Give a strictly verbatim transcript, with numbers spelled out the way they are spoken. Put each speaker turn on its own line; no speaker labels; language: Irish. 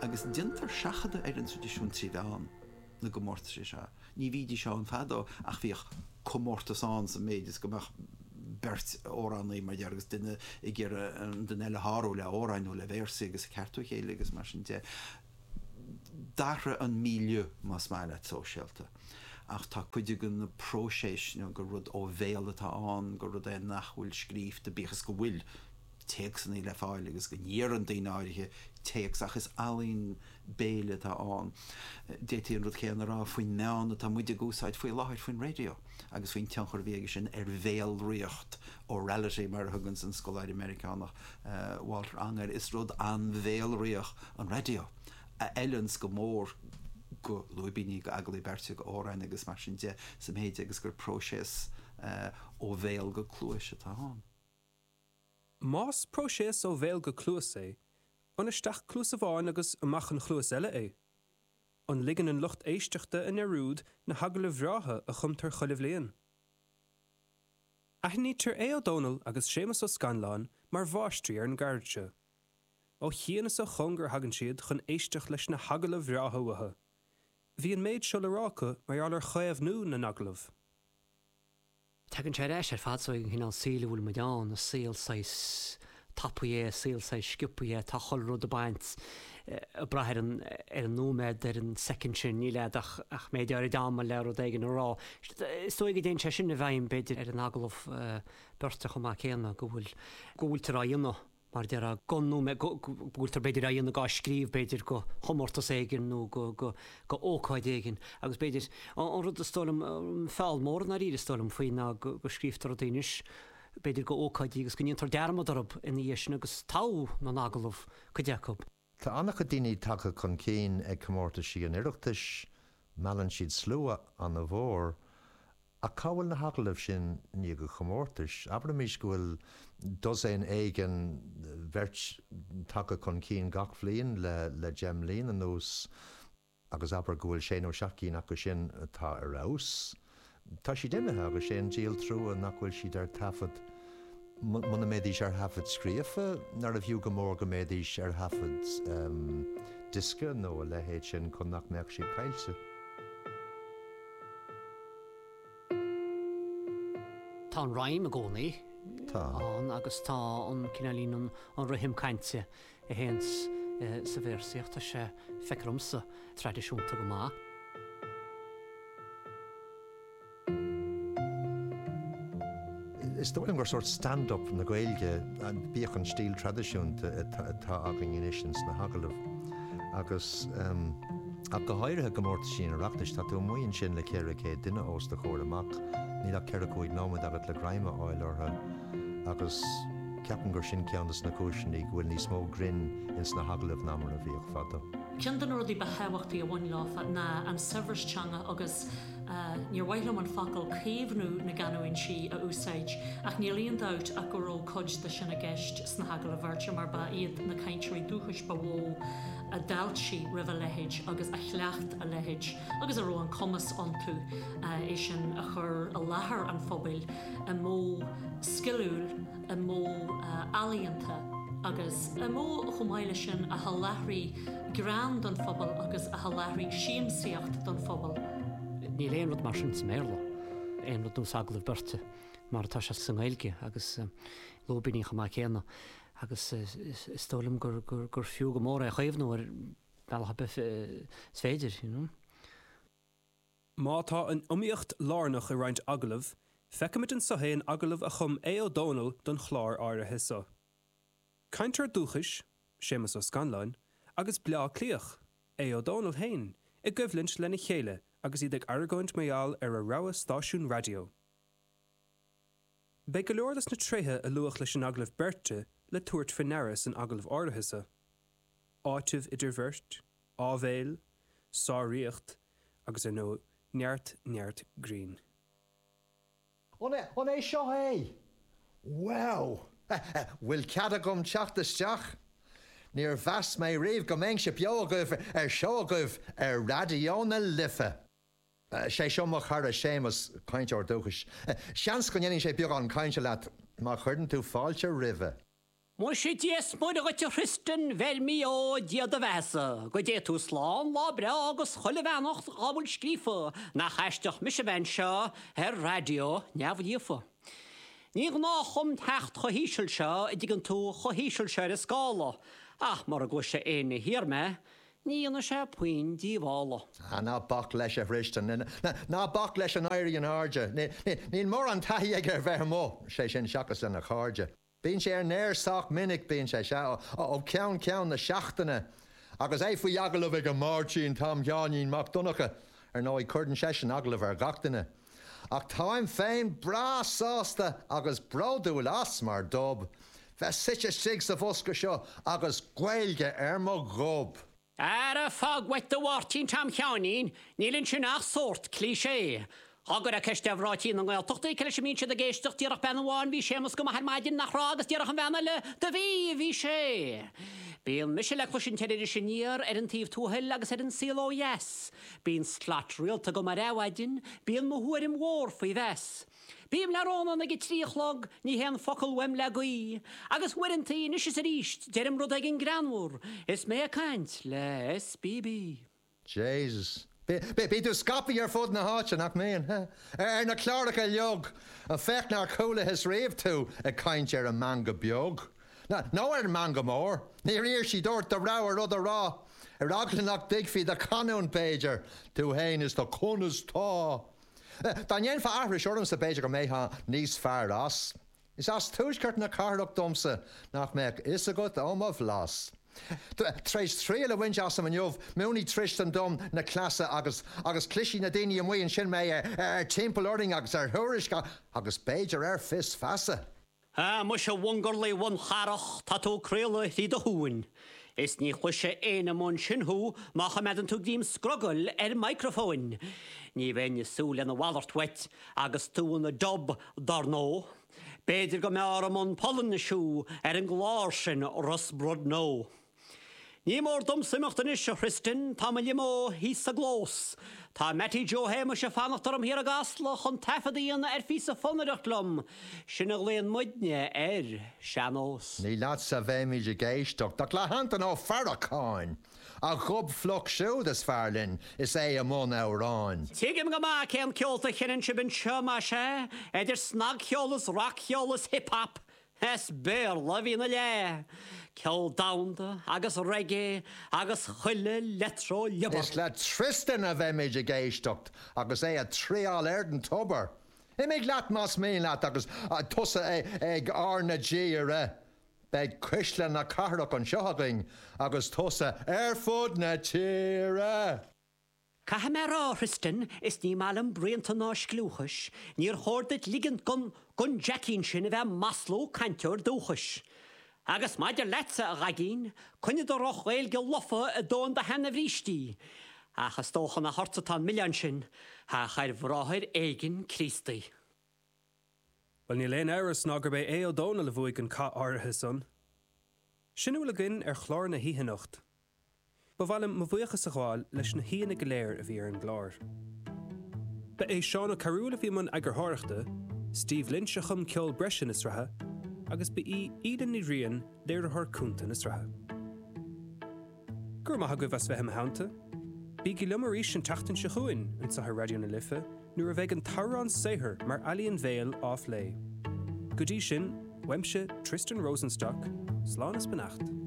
Agus déantar seachadadh ar an traidisiún trí mheán na gcomórtas seo. Ní bhídís ann fadó ach bhíodh comórtas ann sa méid is go mbeadh beirt amhránaí mar dhea agus duine ag iarraidh an duine eile a shárú le amhráin nó le véarsaí agus ag ceartú a chéile agus mar sin de. D'athraigh an milieu, más maith leat, sóisialta. Ach tá cuid de na próiseas nó gur rud ó bhéal atá ann, gur rud é nach bhfuil scríofa, bíodh is go bhfuil téacsanna le fáil agus go n-iarrann daoine áirithe téacs ach is ealaín béil atá ann. D'fhéadfaí an rud céanna a rá faoin meán atá muid ag úsáid faoi láthair, faoin raidió agus faoin tionchar a bhí aige sin ar bhéalraíocht, orality mar a thuganns an scoláire Meiriceánach Walter Ong air. Is rud an-bhéalraíoch an raidió, a fheileanns go mór go lúibíní, go agallaimh beirte, go amhráin agus mar sin de sa mhéid agus gur próiseas ó bhéal go cluais atá ann.
Más próiseas ó bhéal go cluas é, an isteach cluas amháin agus amach an chluas eile é? An ligeann an lucht éisteachta i ndearúd na hagallaimh bhreátha a chumtar chuile bhliain? Aithnítear Aodh Ó Dónaill agus Séamus Ó Scanláin mar mháistrí ar an gceird seo. Ó chian is ó chóngar a thagann siad chun éisteacht leis na hagallaimh bhreátha uathu. Bhí an méid seo le rá acu mar gheall ar chaomhnú na n-agallamh.
Tagann sé ar ais ar fad so ag an chineál saoil a bhfuil muid ann, is saol saghas tapaidh é, saol saghas sciobtha é, tá chuile rud ag baint, ag brath ar an, ar an nóiméad, ar an soicind sin, níl a'd ach, ach méid áirid ama le rud éigin a rá. Is dóigh go dtéann sé sin i bhfeidhm b'fhéidir ar an agallamh beirte chomh maith céanna, go bhfuil, go bhfuiltear á dhéanamh. mar a déarfá, don nóiméad, go bhfuiltear b'fhéidir á dhéanamh á scríobh b'fhéidir go chomórtas éigin nó go, go, go ócáid éigin agus b'fhéidir, an rud is dóigh liom, an feall mór i ndáiríre is dóigh liom faoi ná go, go scríobhtar rudaí anois b'fhéidir go ócáidí agus go ndéantar dearmad orthu ina dhiaidh sin agus togha na n-agallamh cuid acu.
Tá an-chuid daoine tagtha chun cinn ag comórtaisí an Oireachtais, meallann siad slua an-mhór. Ach cá bhfuil na hagallaimh sin i ndiaidh an chomórtais? Abraimis go bhfuil dosaen éigin, beirt, tagtha chun cinn gach bhliain le le deich mbliana anuas agus abair go bhfuil sé nó seacht gcinn acu sin atá ar fheabhas. Tá siad imithe agus sé an díol trua nach bhfuil siad ar taifead. Muna mbeidís ar thaifead scríofa, nárbh fhiú go mór go mbeidís ar thaifead diosca nó a leithéid sin chun nach mbeadh siad caillte.
Tá an rhyme i gcónaí
Tá.
ann agus tá an cineáilín an an rithim cainte a théanns sa véarsaíocht, tá sé, feictear dhomsa, traidisiúnta go maith.
Is dóigh liom gur sórt stand-up na Gaeilge, bíodh an stíl traidisiúnta atá againn anois ins na hagallaimh agus ach go háirithe i gcomórtaisí an Oireachtais, tá tú amuigh ansin le ceithre chéad duine os do chomhair amach, níl ach ceithre cúig nóiméad agat le greim a fháil orthu agus ceapaim gur sin ceann des na cúiseanna go bhfuil níos mó grinn ins na hagallaimh ná mar a bhíodh fadó.
Ceann de na rudaí ba thábhachtaí a bhain leofa ná an saibhreas teanga agus níor mhaith liom an focal caomhnú na gcanúintí a úsáid ach níl aon dabht ach go raibh cuid de sin i gceist sna hagallaimh bheirte mar ba iad na cainteoirí dúchais ba mhó a d'fháiltigh roimh a leithéid agus a chleacht a leithéid agus a raibh an cumas iontu é sin a chur i láthair an phobail i modh sciliúil, i modh ealaíonta agus i modh chomh maith leis sin a sholáthraigh greann don phobal agus a sholáthraigh siamsaíocht don phobal.
Níl aon rud mar sin sa mBéarla, aon rud nós agallamh beirte mar atá sé sa nGaeilge agus lúibíní chomh maith céanna agus is dóigh liom gur gur fiú go mór é a chaomhnú ar bhealach ar bith is féidir, you know.
Má tá an iomaíocht lárnach i roinnt agallamh, feicimid anseo é in agallamh a chum Aodh Ó Dónaill don chlár áirithe seo. Cainteoir dúchais, Séamus Ó Scanláin, agus Bleá Cliathach, Aodh Ó Dónaill féin, i gcoimhlint lena chéile agus iad ag argóint mar gheall ar a rogha stáisiún raidió. Beidh go leor des na tréithe a luadh leis an agallamh beirte le tabhairt faoi ndeara san agallamh áirithe seo, áiteamh idir bheirt, áibhéil, sáraíocht agus, ar ndóigh, neart neart grinn.
An é seo é? Wow! Bhfuil cead agam teacht isteach? Níor mheas mé riamh go mbeinnse beo agaibh ar seó agaibh ar Raidió na Life! Sé seo mo chara Séamus, cainteoir dúchais. Seans go ndéanfaidh sé beagán cainte leat má chuireann tú fáilte roimhe.
Muise Dia 's Muire dhuit a Thristan Bheirmí ó Dia do bheathasa, go dté tú slán lá breá agus chuile bheannacht dhá bhfuil scríofa, nach aisteach mise bheith anseo ar raidió neamhlíofa. Ní gnách dom teacht chomh híseal seo, a dtuigeann tú, chomh híseal seo ar an scála, ach mura gcloise éinne thiar mé, ní dhéanfaidh sé puinn díobhála.
Ah, ná bac leis a Thristan, ná bac leis an éirí in airde. Níl mórán taithí aige ar bheith amuigh, sé sin seachas lena chairde. Bíonn sé ar an aer sách minic, bíonn sé, sea, ó cheann ceann na seachtaine. Agus é faoi agallamh ag Máirtín Tom Sheáinín Mac Donncha, ar ndóigh cuireann seisean agallamh ar gach duine. Ach táim féin breá sásta agus bródúil as mar Dub, bheith suite istigh sa bhosca seo agus Gaeilge ar mo ghob.
Ara fág uait do Mháirtín Tom Sheáinín, níl ansin ach sórt cliché. Dá gcuirfeá ceist ar mhná tí na nGaeltachta cé leis a mbíonn siad ag éisteacht déarfadh bean amháin bhí Séamus go maith ar maidin nach raibh agus déarfadh an bhean eile do bhí, bhí sé. Bíonn mise le cloisint ar Iris Aniar, ar An Taobh Tuathail agus ar An Saol Ó Dheas. Bíonn slat rialta agam ar Adhmhaidin, bíonn mo thuairim mhór faoi mheas. Bím le Rónán ag a trí a chlog, ní théann focal uaim le gaoth, agus uaireanta anois is arís deirim rud éigin greannmhar is mé ag caint le SBB.
Jesus. Bíonn tú scaipthe ar fud na háite, nach mbíonn? Ar na cláracha uilig, féach nár chualathas riamh tú ag caint ar an meangadh beag. Nó ar an meangadh mór. Níor iarr siad ort do rogha rud a rá. Ar eagla nach dtuigfí do chanúint b'fhéidir, tú fhéin is do conas tá. Dá ndéanfá aithris ormsa b'fhéidir go mbeifeá níos fearr as. Is as tuaisceart na cathrach domsa nach mbeadh fhios agat ó mo bhlas. Tar éis triail a bhaint asam inniu, múinfidh Tristan dom na cleasa agus agus cloisfidh na daoine amuigh ansin mé ar Timpeall Orainn agus ar Thuairisc agus b'fhéidir ar Fios Feasa.
Ah, muise a mhungarlaigh bhuncharach, tá tú ag craoladh thrí do thóin. Is ní chloisfidh éinne amuigh ansin thú má choimeádann tú greim scrogaill ar micreafóin. Ní bheinn ag súil lena mhalairt uait agus tú ina Dub, dar ndóigh. B'fhéidir go mb'fhearr i mbun Polainnis thú ar an gclár sin Rus Brudno. Ní mór domsa imeacht anois, a Thristan, tá mo limo thíos sa gclós. Tá Mattie Joe Shéamuis ag fanacht orm thiar i gCasla chun taifead a dhéanamh ar phíosa fonnaireacht liom, sin a ghlaonn muidne ar sean-nós.
Ní leatsa a bheimid ag éisteacht ach le hAntaine Ó Faracháin, a ghob fliuch siúd is fearr linn is é i mbun amhráin.
Tuigim go maith cén ceolta a sheinneann sibh anseo, más ea, idir snagcheol is rac-cheol is hip-hop. As Béarla a bhíonn a leath, ceol domhanda agus reggae agus chuile leictreoliobar.
Is le Tristan a bheimid ag éisteacht agus é ag triall ar an tobar. Imigh leat más mian leat agus tusa ag R na G a rith. Beidh cuisle na cathrach anseo againn agus tusa ar fud na tíre!
Caithfidh mé a rá, a Thristan, is ní maith liom bruíonta ná scliúchais, níor chóir duit ligint gon, gon Jackín sin a bheith ag maslú cainteoir dúchais. Agus maidir leatsa, a Dhaigín, coinnigh do dhroch-Ghaeilge lofa i dtóin do sheana-bhrístí. Ach is dócha nach ortsa atá an milleán sin, ach ar bhráthair éigin Críostaí.
Bhuel, níl aon amhras ná gurb é Aodh Ó Dónaill a bhuaigh an cath áirithe san. Sin a bhfuil againn ar chlár na hoíche anocht. Ba mhaith liom mo bhuíochas a ghabháil leis na haíonna go léir a bhí ar an gclár. Ba é Seán Ó Cearúil a bhí i mbun eagarthóireachta, Steve Lynch a chum ceol breise na sraithe agus ba í Íde Ní Riain léiritheoir cúnta na sraithe. Go raibh maith agaibh as bheith i mo theannta. Bígí liom arís an tseachtain seo chugainn anseo ar Raidió na Life nuair a bheidh an t-amhrán saothair mar ealaíon bhéil á phlé. Go dtí sin, uaimse Tristan Rosenstock, slán is beannacht.